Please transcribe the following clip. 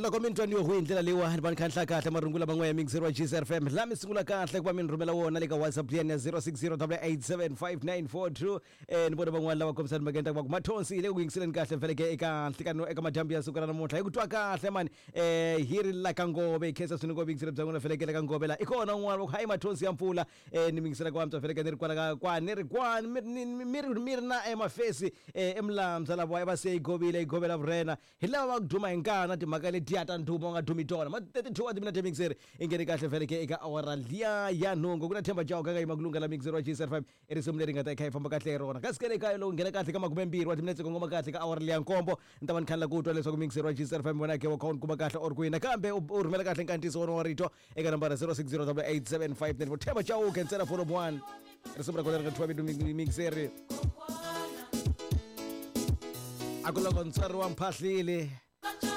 Loko mi ni twa ni yo hi ndlela leyiwani va ni khanhla kahle marungula man'we ya mixer wa GCR FM la mi sungula kahle ku va mi ni rhumela wona le ka WhatsApp liyani ya 0608875942. Ni vona van'wani lava kombisani makenda va ku mathonsi hi le ku yingiseleni kahle mfeleke eka nhlikano eka madyambu ya siku ra namuntlha hi ku twa kahle mani. Hi ri la ka Ngove hi khensa swinene ku va yingisela bya n'wina feleke le ka Ngove la i kona un'wana va ku hayi mathonsi ya mpfula. Ni mingisela ku antswa feleke ni ri kwala ka kwa ni ri kwa mi ri mi ri na emafesi eMulamza lava va se yi govile yi govela vurhena hi lava va ku duma hi nkana timhaka letiya ta ndhuma u nga dumi tona ma 32 wa timinete mixeri i nghene kahle feleke eka awara liya ya nhungu ku na Themba Chauke ka yima ku lunga la mixeri wa GCR5 i risimu leri nga ta yi kha yi famba kahle hi rona kasi ke le kaya loko nghena kahle ka 20 wa timinetse kongoma kahle ka awara liya nkombo ni ta va ni khanela ku twa leswaku mixeri wa GCR5 wena ke wa kha u ni kuma kahle or kwini nakambe u rhumela kahle nkantiso wona wa rito eka nambara 06088759 Themba Chauke ntsena volume 1 risimu ra kona ri nga thyiwa vito mixeri a ku loko ntswari wa mphahlile.